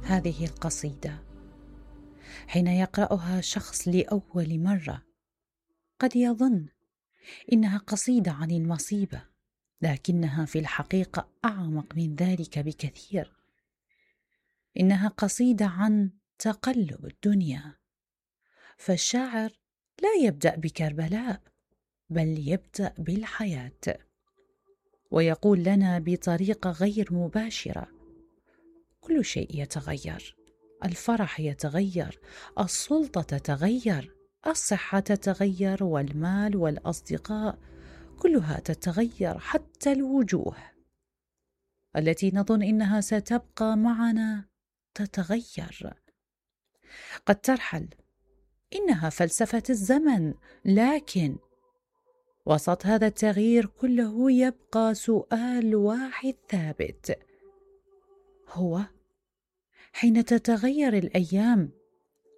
هذه القصيدة حين يقرأها شخص لأول مرة قد يظن إنها قصيدة عن المصيبة، لكنها في الحقيقة أعمق من ذلك بكثير. إنها قصيدة عن تقلب الدنيا، فالشاعر لا يبدأ بكربلاء بل يبدأ بالحياة، ويقول لنا بطريقة غير مباشرة: كل شيء يتغير، الفرح يتغير، السلطة تتغير، الصحة تتغير، والمال والأصدقاء كلها تتغير، حتى الوجوه التي نظن إنها ستبقى معنا تتغير، قد ترحل. إنها فلسفة الزمن، لكن وسط هذا التغيير كله يبقى سؤال واحد ثابت، هو: حين تتغير الأيام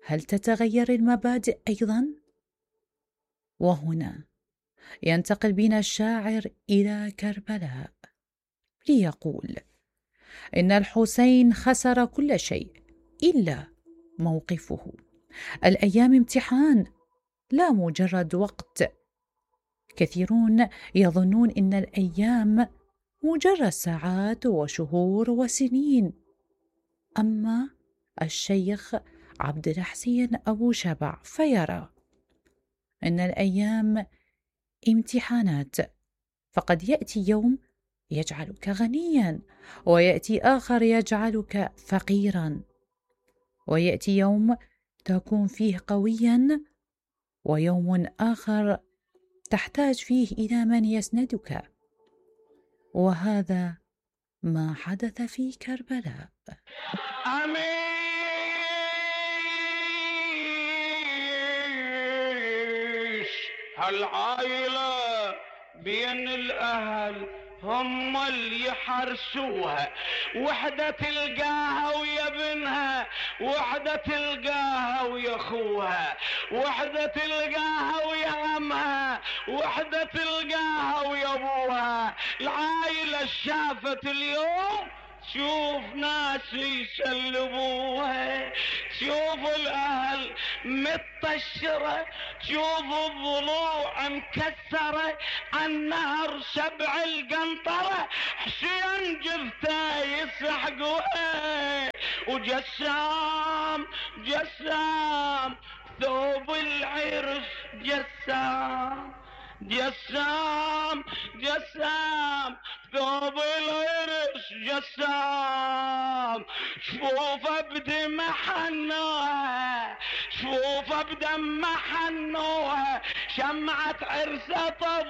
هل تتغير المبادئ أيضا؟ وهنا ينتقل بنا الشاعر إلى كربلاء ليقول إن الحسين خسر كل شيء إلا موقفه. الأيام امتحان لا مجرد وقت. كثيرون يظنون إن الأيام مجرد ساعات وشهور وسنين، أما الشيخ عبد الحسين أبو شبع فيرى أن الأيام امتحانات، فقد يأتي يوم يجعلك غنيا، ويأتي آخر يجعلك فقيرا، ويأتي يوم تكون فيه قويا، ويوم آخر تحتاج فيه إلى من يسندك، وهذا ما حدث في كربلاء. هالعائلة بين الأهل هم اللي يحرسوها، وحدة تلقاها ويا بنها، وحدة تلقاها ويا أخوها، وحدة تلقاها ويا عمها، وحدة تلقاها ويا أبوها. العائلة شافت اليوم شوف ناس يسلبوها، شوف الأهل متطشرة، شوف الضلوع مكسرة، عالنهر سبع القنطرة حسين جثة يسحقوها. وجسام جسام ثوب العرس، جسام جسام جسام ثوب العرس، جسام شفوفه بدمع حنوها، شفوفه بدمع حنوها، شمعة عرسه طفى